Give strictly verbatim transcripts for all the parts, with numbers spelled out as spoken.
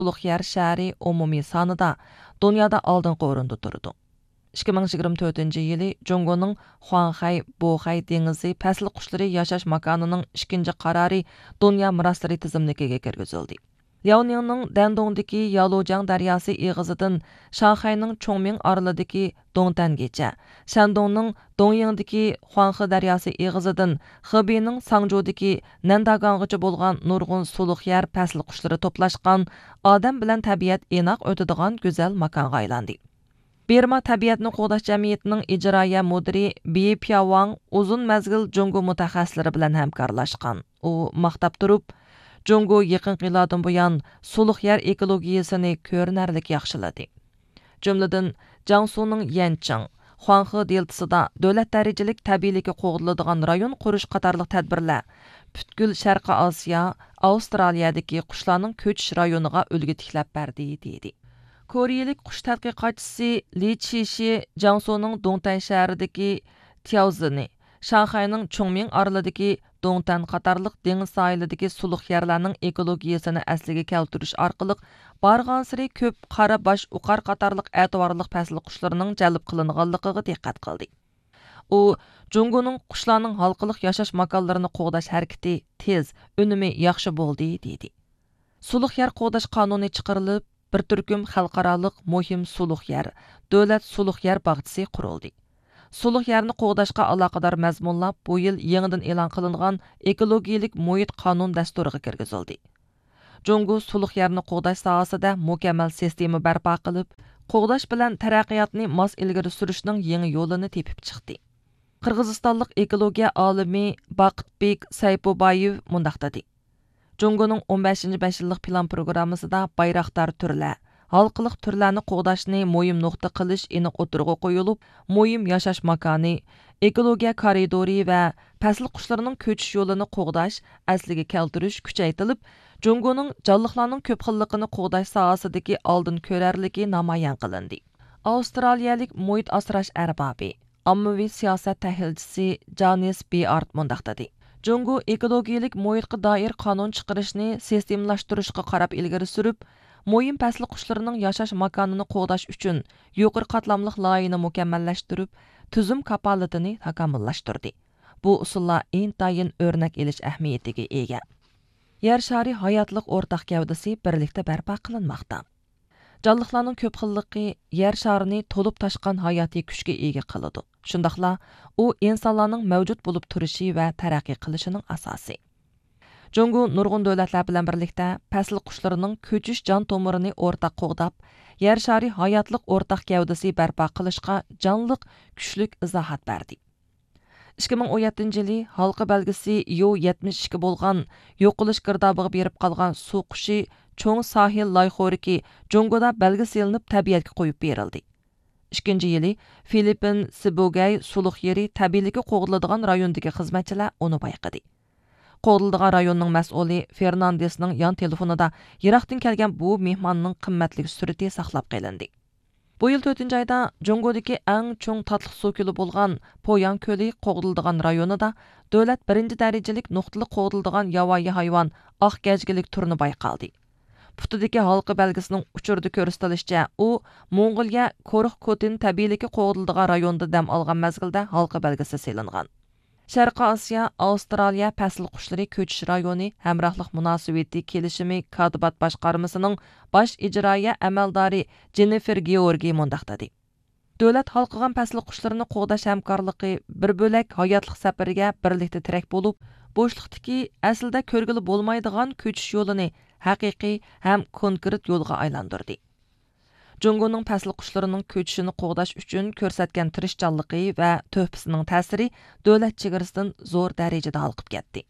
سۇلۇق يەر شەھىرى ئومۇمىي سانىدا دۇنيادا ئالدىنقى ئورۇندا تۇرىدۇ. ئىككى مىڭ يىگىرمە تۆتىنچى يىلى جۇڭگونىڭ خۇاڭخەي، بوخەي دېڭىزى پەسىل قۇشلىرى ياشاش ماكانىنىڭ ئىككىنچى قارارى دۇنيا مىراسلىرى تىزىملىكىگە كىرگۈزۈلدى. لياۋنىڭنىڭ دەندۇڭدىكى يالۇجياڭ دەرياسى ئېغىزىدىن شاڭخەينىڭ چۇڭمىڭ ئارىلىدىكى دۇڭتەنگىچە، شەندۇڭنىڭ دۇڭيىڭدىكى خۇاڭخې دەرياسى ئېغىزىدىن خېبېينىڭ ساڭجۇدىكى نەنداگاڭغىچە بولغان نۇرغۇن سۇلۇق يەر پەسىل قۇشلىرى توپلاشقان، ئادەم بىلەن تەبىئەت ئىناق ئۆتىدىغان گۈزەل ماكانغا ئايلاندى. بىرما تەبىئەتنى قوغداش جەمئىيىتىنىڭ ئىجرائىيە مۇدىرى بى پياۋاڭ ئۇزۇن مەزگىل جۇڭگو مۇتەخەسسىسلىرى بىلەن ھەمكارلاشقان. ئۇ ماختاپ تۇرۇپ، جۇڭگو يېقىنقى يىللاردىن بۇيان سۇلۇق يەر ئېكولوگىيىسىنى كۆرۈنەرلىك ياخشىلىدى. جۈملىدىن، جياڭسۇنىڭ يەنچىڭ، خۇاڭخې دېلتىسىدا دۆلەت دەرىجىلىك تەبىئىيلىكى قوغدىلىدىغان رايون قۇرۇش قاتارلىق تەدبىرلەر پۈتكۈل شەرقىي ئاسىيا، ئاۋسترالىيەدىكى قۇشلارنىڭ كۆچۈش رايونىغا ئۈلگە تىكلەپ بەردى، دېدى. كورېيىلىك قۇش تەتقىقاتچىسى لى چىشى جياڭسۇنىڭ دۇڭتەن شەھىرىدىكى تياۋزېنى، شاڭخەينىڭ چۇڭمىڭ ئارىلىدىكى دۇڭتەن قاتارلىق دېڭىز ساھىلىدىكى سۇلۇق يەرلەرنىڭ ئېكولوگىيىسىنى ئەسلىگە كەلتۈرۈش ئارقىلىق، بارغانسېرى كۆپ قارا باش ئۇقار قاتارلىق ئەتىۋارلىق پەسىل قۇشلىرىنىڭ جەلپ قىلىنغانلىقىغا دىققەت قىلدى. ئۇ، جۇڭگونىڭ قۇشلارنىڭ ھالقىلىق ياشاش ماكانلىرىنى قوغداش ھەرىكىتى تېز، ئۈنۈمى ياخشى بولدى، دېدى. سۇلۇق يەر قوغداش قانۇنى چىقىرىلىپ، بىر تۈركۈم خەلقئارالىق مۇھىم سۇلۇق يەر، دۆلەت سۇلۇق يەر باغچىسى قۇرۇلدى. سۇلۇق يەرنى قوغداشقا ئالاقىدار مەزمۇنلار بۇ يىل يېڭىدىن ئېلان قىلىنغان ئېكولوگىيىلىك مۇھىت قانۇن دەستۇرىغا كىرگۈزۈلدى. جۇڭگو سۇلۇق يەرنى قوغداش ساھەسىدە مۇكەممەل سىستېما بەرپا قىلىپ، قوغداش بىلەن تەرەققىياتنى ماس ئىلگىرى سۈرۈشنىڭ يېڭى يولىنى تېپىپ چىقتى. قىرغىزىستانلىق ئېكولوگىيە ئالىمى باقىتبېك سەيپۇبايېۋ مۇنداق دېدى: جۇڭگونىڭ ئون بەشىنچى بەش يىللىق پىلان پروگراممىسىدا بايراقدار تۈرلەر، ھالقىلىق تۈرلەرنى قوغداشنى مۇھىم نۇقتا قىلىش ئېنىق ئوتتۇرىغا قويۇلۇپ، مۇھىم ياشاش ماكانى، ئېكولوگىيە كارىدورى ۋە پەسىل قۇشلىرىنىڭ كۆچۈش يولىنى قوغداش، ئەسلىگە كەلتۈرۈش كۈچەيتىلىپ، جۇڭگونىڭ جانلىقلارنىڭ كۆپ خىللىقىنى قوغداش ساھەسىدىكى ئالدىن كۆرەرلىكى نامايان قىلىندى. ئاۋسترالىيەلىك مۇھىت ئاسراش ئەربابى، ئاممىۋى سىياسەت تەھلىلچىسى جانىس بىئارت مۇنداق دېدى: جۇڭگو ئېكولوگىيىلىك مۇھىتقا دائىر قانۇن چىقىرىشنى سىستېمىلاشتۇرۇشقا قاراپ ئىلگىرى سۈرۈپ، مۇھىم پەسىل قۇشلىرىنىڭ ياشاش ماكانىنى قوغداش ئۈچۈن يۇقىرى قاتلاملىق لايىھىنى مۇكەممەللەشتۈرۈپ، تۈزۈم كاپالىتىنى تاكامۇللاشتۇردى. بۇ ئۇسۇللار ئىنتايىن ئۆرنەك ئېلىش ئەھمىيىتىگە ئىگە. يەر شارى ھاياتلىق ئورتاق گەۋدىسى بىرلىكتە بەرپا قىلىنماقتا. جانلىقلارنىڭ كۆپ خىللىقى يەر شارىنى تولۇپ تاشقان ھاياتىي كۈچكە ئىگە قىلىدۇ. شۇنداقلا ئۇ ئىنسانلارنىڭ مەۋجۇت بولۇپ تۇرۇشى ۋە تەرەققىي قىلىشىنىڭ ئاساسى. جۇڭگو نۇرغۇن دۆلەتلەر بىلەن بىرلىكتە پەسىل قۇشلىرىنىڭ كۆچۈش جان تومۇرىنى ئورتاق قوغداپ، يەر شارى ھاياتلىق ئورتاق گەۋدىسى بەرپا قىلىشقا جانلىق، كۈچلۈك ئىزاھات بەردى. ئىككى مىڭ ئون يەتتىنچى يىلى ھالقا بەلگىسى يو يەتمىش ئىككى بولغان يوقىلىش گىردابىغا بېرىپ قالغان سۇ قۇشى چوڭ ساھىل لايخورىكى جۇڭگودا بەلگىسى ئېلىنىپ تەبىئەتكە قويۇپ بېرىلدى. ئىككىنچى يىلى فىلىپپىن سىبۇگەي سۇلۇق يېرى تەبىئىيلىكى قوغدىلىدىغان رايوندىكى خىزمەتچىلەر ئۇنى بايقىدى. قوغدىلىدىغان رايوننىڭ مەسئۇلى فېرناندېسنىڭ يان تېلېفونىدا يىراقتىن كەلگەن بۇ مېھماننىڭ قىممەتلىك سۈرىتى ساقلاپ قېلىندى. بۇ يىل تۆتىنچى ئايدا جۇڭگودىكى ئەڭ چوڭ تاتلىق سۇ كۆلى بولغان پوياڭ كۆلى قوغدىلىدىغان رايونىدا دۆلەت بىرىنچى دەرىجىلىك نۇقتىلىق قوغدىلىدىغان ياۋايى ھايۋان ئاق گەجگىلىك تۇرنا بايقالدى. پۇتىدىكى ھالقا بەلگىسىنىڭ ئۇچۇردا كۆرسىتىلىشىچە، ئۇ موڭغۇلىيە كورخ كوتىن تەبىئىيلىكى قوغدىلىدىغان رايوندا دەم ئالغان مەزگىلدە ھالقا بەلگىسى سېلىنغان. شەرقىي ئاسىيا، ئاۋسترالىيە پەسىل قۇشلىرى كۆچۈش رايونى ھەمراھلىق مۇناسىۋىتى كېلىشىمى كاتىبات باشقارمىسىنىڭ باش ئىجرائىيە ئەمەلدارى جېننىفېر گېئورگى مۇنداق دېدى: دۆلەت ھالقىغان پەسىل قۇشلىرىنى قوغداش ھەمكارلىقى بىر بۆلەك ھاياتلىق سەپىرىگە بىرلىكتە تىرەك بولۇپ، بوشلۇقتىكى، ئەسلىدە كۆرگىلى بولمايدىغان كۆچۈش يولىنى ھەقىقىي ھەم كونكرېت يولغا ئايلاندۇردى. جۇڭگونىڭ پەسىل قۇشلىرىنىڭ كۆچۈشىنى قوغداش ئۈچۈن كۆرسەتكەن تىرىشچانلىقى ۋە تۆھپىسىنىڭ تەسىرى دۆلەت چېگرىسىدىن زور دەرىجىدە ھالقىپ كەتتى.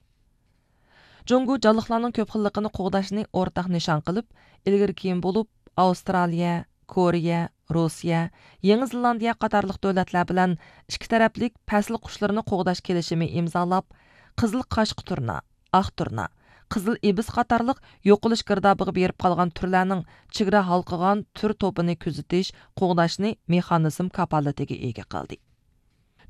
جۇڭگو جانلىقلارنىڭ كۆپ خىللىقىنى قوغداشنى ئورتاق نىشان قىلىپ، ئىلگىرى كېيىن بولۇپ ئاۋسترالىيە، كورېيە، روسىيە، يېڭى زېلاندىيە قاتارلىق دۆلەتلەر بىلەن ئىككى تەرەپلىك پەسىل قۇشلىرىنى قوغداش كېلىشىمى ئىمزالاپ، قىزىل قاشقا تۇرنا، ئاق تۇرنا، قىزىل ئىبىس قاتارلىق يوقىلىش گىردابىغا بېرىپ قالغان تۈرلەرنىڭ چېگرا ھالقىغان تۈر توپىنى كۆزىتىش، قوغداشنى مېخانىزم كاپالىتىگە ئىگە قىلدى.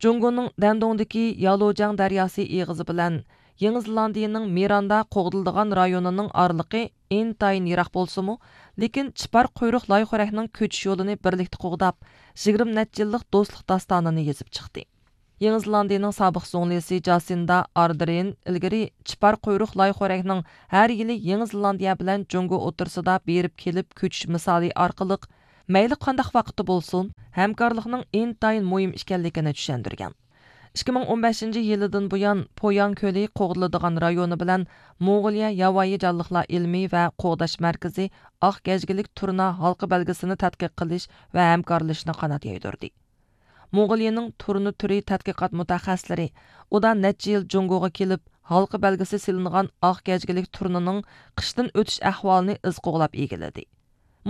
جۇڭگونىڭ دەندۇڭدىكى يالۇجياڭ دەرياسى ئېغىزى بىلەن يېڭى زېلاندىيىنىڭ مىراندا قوغدىلىدىغان رايونىنىڭ ئارىلىقى ئىنتايىن يىراق بولسىمۇ، لېكىن چىپار قۇيرۇق لايخورەكنىڭ كۆچۈش يولىنى بىرلىكتە قوغداپ، يىگىرمە نەچچە يىللىق دوستلۇق داستانىنى يېزىپ چىقتى. يېڭى زېلاندىيىنىڭ سابىق زۇڭلىسى جاسىندا ئاردېرېن ئىلگىرى چىپار قۇيرۇق لايخورەكنىڭ ھەر يىلى يېڭى زېلاندىيە بىلەن جۇڭگو ئوتتۇرىسىدا بېرىپ كېلىپ كۆچۈش مىسالى ئارقىلىق، مەيلى قانداق ۋاقىتتا بولسۇن، ھەمكارلىقنىڭ ئىنتايىن مۇھىم ئىكەنلىكىنى چۈشەندۈرگەن. ئىككى مىڭ ئون بەشىنچى يىلىدىن بۇيان، پوياڭ كۆلى قوغدىلىدىغان رايونى بىلەن موڭغۇلىيە ياۋايى جانلىقلار ئىلمىي ۋە قوغداش مەركىزى ئاق گەجگىلىك تۇرنا ھالقا بەلگىسىنى تەتقىق قىلىش ۋە ھەمكارلىشىشنى قانات يايدۇردى. موڭغۇلىيىنىڭ تۇرنا تۈرى تەتقىقات مۇتەخەسسىسلىرى ئۇدا نەچچە يىل جۇڭگوغا كېلىپ، ھالقا بەلگىسى سېلىنغان ئاق گەجگىلىك تۇرنىنىڭ قىشتىن ئۆتۈش ئەھۋالىنى ئىز قوغلاپ ئىگىلىدى.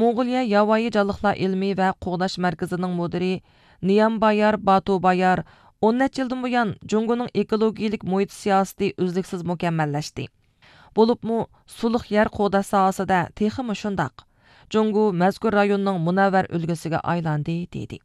موڭغۇلىيە ياۋايى جانلىقلار ئىلمىي ۋە قوغداش مەركىزىنىڭ مۇدىرى نيامبايار باتۇبايار ئون نەچچە يىلدىن بۇيان جۇڭگونىڭ ئېكولوگىيىلىك مۇھىت سىياسىتى ئۈزلۈكسىز مۇكەممەللەشتى. بولۇپمۇ سۇلۇق يەر قوغداش ساھەسىدە تېخىمۇ شۇنداق. جۇڭگو مەزكۇر رايوننىڭ مۇنەۋۋەر ئۈلگىسىگە ئايلاندى، دېدى.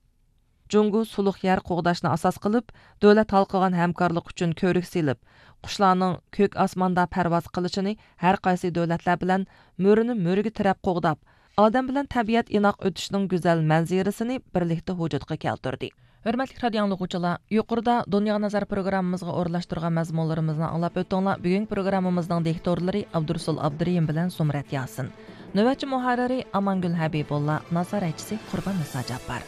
جۇڭگو سۇلۇق يەر قوغداشنى ئاساس قىلىپ، دۆلەت ھالقىغان ھەمكارلىق ئۈچۈن كۆۋرۈك سېلىپ، قۇشلارنىڭ كۆك ئاسماندا پەرۋاز قىلىشىنى ھەر قايسى دۆلەتلەر بىلەن مۈرىنى مۈرىگە تىرەپ قوغداپ، ئادەم بىلەن تەبىئەت ئىناق ئۆتۈشىنىڭ گۈزەل مەنزىرىسىنى بىرلىكتە ۋۇجۇدقا كەلتۈردى. ھۆرمەتلىك رادىئو ئاڭلىغۇچىلار، يۇقىرىدا دۇنياغا نەزەر پروگراممىمىزغا ئورۇنلاشتۇرغان مەزمۇنلىرىمىزنى ئاڭلاپ ئۆتتۈڭلار. بۈگۈنكى پروگراممىمىزنىڭ دىكتورلىرى ئابدۇرۇسۇل ئابدۇرېھىم بىلەن زۇمرەت ياسىن. نۆۋەتچى مۇھەررىرى ئامانگۈل ھەبىبۇللا، نازارەتچىسى قۇربان نىسا جاپپار.